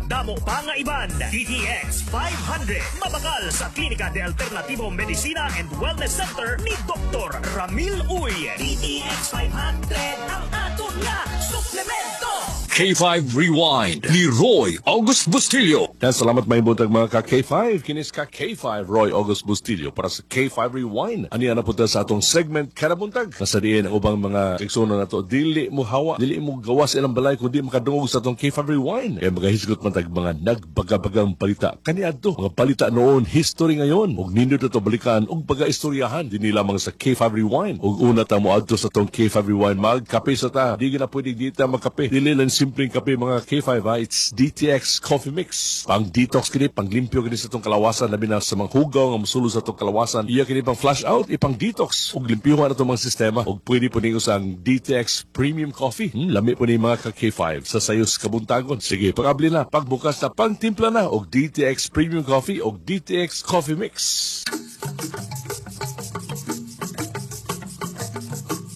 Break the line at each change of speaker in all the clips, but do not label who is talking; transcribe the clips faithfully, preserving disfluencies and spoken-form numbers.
Madamo pa nga iban. D T X five hundred. Mabakal sa Klinika de Alternativo Medicina and Wellness Center ni Doctor Ramil Uy. D T X five hundred ang aton nga suplemento.
K five Rewind ni Roy August Bustillo.
Yan, salamat, may buntag, mga ka K five. Kinis ka K five Roy August Bustillo para sa K five Rewind. Ani na punta sa atong segment kada buntag. Nasa diin ang ubang mga igsoon nato. Dili mo hawa, dili mo gawas ilang balay kundi makadungog sa atong K five Rewind. Kaya magahisgot man tag mga nagbagabagang balita kaniadto. Mga balita noon, history ngayon. Ug nindot ato balikan ug pagaistoryahan dinhi lamang sa K five Rewind. Ug una ta mo adto sa atong K five Rewind, magkape sa ta. Di na pwede di ta magkape. Dili lang simpleng kape, mga K five, ha. It's D T X Coffee Mix. Pang detox kini, pang limpyo kini sa itong kalawasan, labi na sa mga hugaw nga mosulod sa itong kalawasan. Iya kini pang flush out, ipang detox ug limpyuhan atong mga sistema. Ug pwede po ninyo sa D T X Premium Coffee. Hmm, lami po ni mga ka K five sa sayos kabuntagon. Sige, pag-abli na, pagbukas na, pangtimpla na og D T X Premium Coffee og D T X Coffee Mix.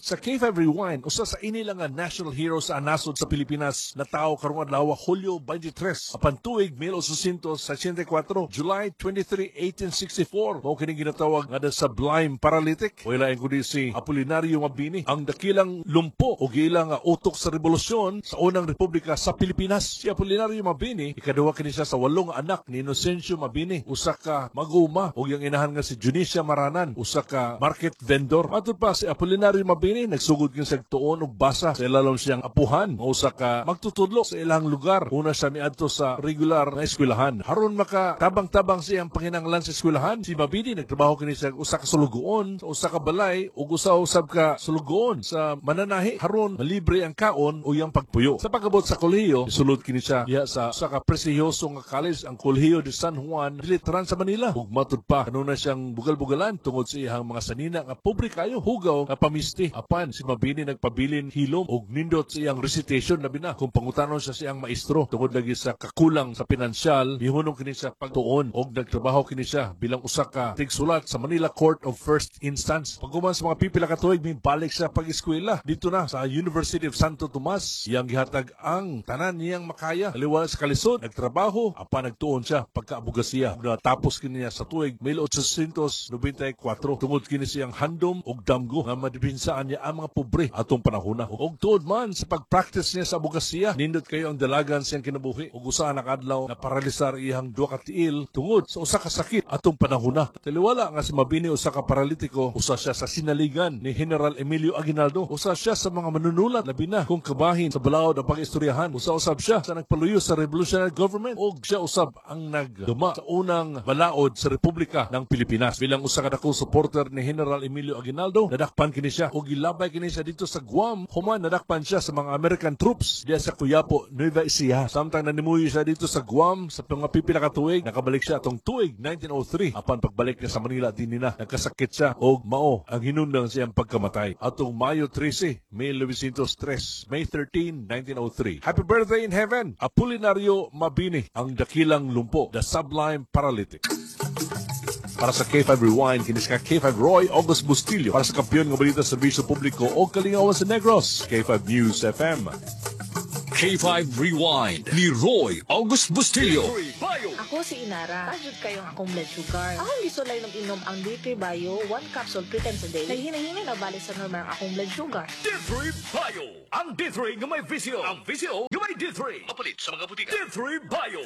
Sa K five Rewind, usa sa inila nga national hero sa nasod sa Pilipinas na tao karong adlaw, Hulyo twenty-three. Apan tuig eighteen sixty-four, July twenty-three, eighteen sixty-four, mao kini ginatawag nga the Sublime Paralytic. Wala lain kundi si Apolinario Mabini, ang dakilang lumpo o giila nga utok sa rebolusyon sa unang republika sa Pilipinas. Si Apolinario Mabini, ikaduha kini siya sa walong anak ni Inocencio Mabini, usa ka mag-uma, ug iyang inahan nga si Dionisia Maranan, usa ka market vendor. Matud pa, si Apolinario Mabini nagsugod kini sa tuon og basa sa ilalom siyang apuhan nga usa ka magtutudlo sa ilang lugar. Una siya miadto sa regular na eskwelahan. Haron maka tabang-tabang siyang panginanglan sa eskwelahan, si Mabini nagtrabaho kini sa usa ka sulugoon sa usa ka balay ug usa usab ka sulugoon sa mananahi haron malibre ang kaon o iyang pagpuyo. Sa pag-abot sa kolehiyo, isulod kini siya diha sa usa ka prestihiyoso nga college, ang Kolehiyo de San Juan de Letran sa Manila. Ug matud pa, kanunay siyang bugal-bugalan tungod sa iyang mga sanina nga pobre kayo, hugaw nga pamisti. Apan si Mabini nagpabilin hilom og nindot sa iyang recitation, labi na kung pangutanon siya sa iyang maestro. Tungod lagi sa kakulang sa pinansyal, mihunong kini siya pagtuon og nagtrabaho kini siya bilang usa ka tigsulat sa Manila Court of First Instance. Paghuman sa mga pipila ka tuig, mibalik siya pag-eskwela dito na sa University of Santo Tomas. Iyang gihatag ang tanan niyang makaya. Taliwala sa kalisod, nagtrabaho, apan nagtuon siya pagkaabogasiya. Natapos kini niya sa tuig eighteen ninety-four tungod kini siyang handom og damgo nga madepinsaan niya ang mga pobre atong panahona. Og tuod man sa pag-practice niya sa abogasiya, nindot kayo ang dalagan siyang kinabuhi. Ug usa na kadlaw na paralisar iyang duha ka tiil tungod sa usa ka sakit atong panahona. Taliwala nga si Mabini usa ka paralitiko, usa siya sa sinaligan ni General Emilio Aguinaldo. Usa siya sa mga manunulat, labi na kung kabahin sa balaod ang pag-istoryahan. Usa usab siya sa nagpaluyo sa revolutionary government ug siya usab ang nagduma sa unang balaod sa Republika ng Pilipinas. Bilang usa ka dakong supporter ni General Emilio Aguinaldo, nadakpan kini siya ug gilabay kini siya dito sa Guam. Human nadakpan siya sa mga American troops diya sa Cuyapo, Nueva Ecija. Samtang nanimuyo siya dito sa Guam sa mga pipila ka tuig, nakabalik siya atong tuig nineteen oh three. Apan pagbalik niya sa Manila, dinhi na nagkasakit siya og mao ang hinungdan siyang pagkamatay. Atong Mayo thirteen, nineteen oh three, May thirteen, nineteen oh three. Happy birthday in heaven, Apolinario Mabini, ang dakilang lumpo, the Sublime Paralytic. Para sa K five Rewind, kinis ka K five Roy August Bustillo. Para sa kampiyon nga balita sa serbisyo publiko o kalingawan sa Negros, K five News F M.
K five Rewind ni Roy August Bustillo.
Ako si Inara. Taas jud kayong akong blood sugar. Akong gisulay ng inom ang D three Bio, one capsule three times a day. Naghinay-hinay na balik sa normal ang akong blood sugar.
D three Bio. Ang D three nga may V C O. Ang V C O nga may D three. Mapalit sa mga butika. D three Bio.